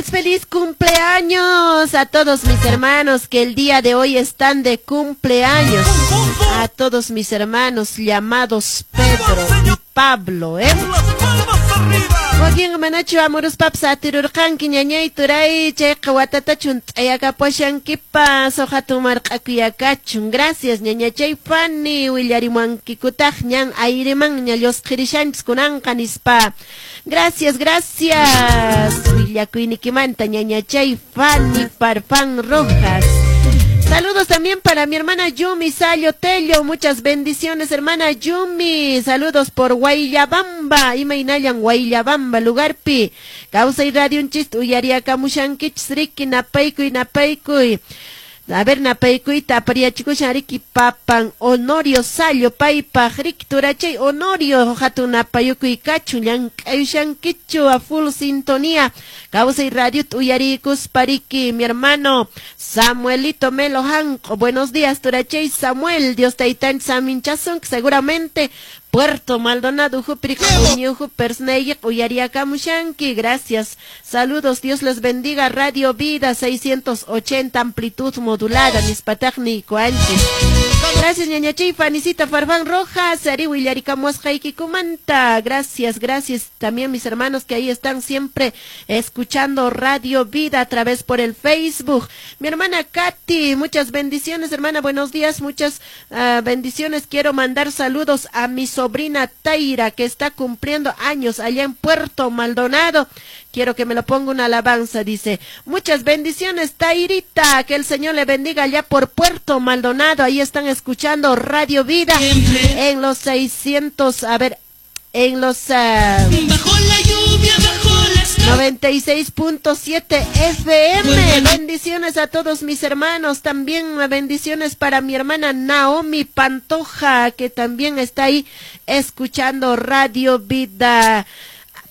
Feliz cumpleaños a todos mis hermanos que el día de hoy están de cumpleaños. A todos mis hermanos llamados Pedro y Pablo, ¿eh? Wakin manachu amuruspapas atirurqanki, ñañay, turay, chayqa watatachun t'ayakapushankipas hatun marq'akuyakachun. Gracias, ñañachay Fanny, willarimuankikutaq ñan ayrimanña llusqirishanchis kunanqa nispa. Gracias, gracias, willakuynikimanta, ñañachay Fanny Farfán Rojas. Saludos también para mi hermana Yumi Sayo Tello. Muchas bendiciones, hermana Yumi. Saludos por Guayllabamba. Imaynallan Guayllabamba lugarpi? Kawsay Radionchista uyariyakamushankichis riki, napaykuy, napaykuy. A ver, napaykuyta apariyachikushan riki papan Honorio Sallo paypaq riki, turachay Honorio, hatun napayukuy kachun, llank'ayushankichu a full sintonía Kawsay Radio uyarikuspa riki. Mi hermano Samuelito Melo Janco, buenos días, turachay Samuel, Dios taytanchis saminchasun, seguramente Puerto Maldonado, uyariyakamushanki. Gracias. Saludos, Dios les bendiga. Radio Vida 680 amplitud modulada. Nispataqni kuanchis. Gracias, ñañachay Fanicita Farfán Rojas. Ari kumanta. Gracias, gracias. También mis hermanos que ahí están siempre escuchando Radio Vida a través por el Facebook. Mi hermana Katy, muchas bendiciones, hermana. Buenos días, muchas bendiciones. Quiero mandar saludos a mi sobrina Taira, que está cumpliendo años allá en Puerto Maldonado. Quiero que me lo ponga una alabanza, dice. Muchas bendiciones, Tairita. Que el Señor le bendiga allá por Puerto Maldonado. Ahí están escuchando Radio Vida en los 600, a ver, en los Bajo la lluvia, bajo las 96.7 FM. Bendiciones a todos mis hermanos. También bendiciones para mi hermana Naomi Pantoja, que también está ahí escuchando Radio Vida.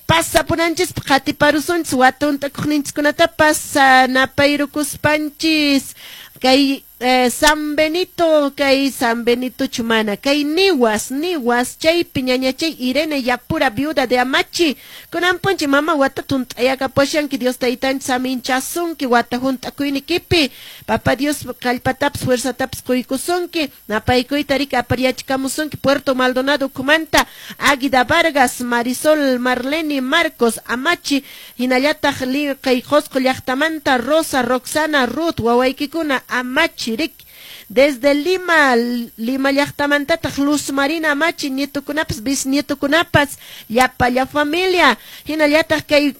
Pasapunanchis qatiparusunchis watuntakuqninchikkunatapas napayrukuspanchis kay San Benito, kay San Benito chumana, kay Niwas, Niwas, chaypi ñañachay Irene Yapura, viuda de Amachi, kunanpunchi mama wata tunt'ayakapushanki, Dios taytanchis saminchasunki wata hunt'akuynikipi, Papa Dios kallpatapas fuerzatapas quykusunki. Napaykuyta riki apariyachikamusunki Puerto Maldonado ukhumanta Águida Vargas, Marisol Marlene Marcos Amachi, hinallataq kay Qosqo llaqtamanta Rosa Roxana Ruth wawaykikuna Amachi rik. Desde Lima, Lima llaqtamantataq Luz Marina Amachi, nietukunapas, bisnietukunapas, llapalla familia, hinallataq kay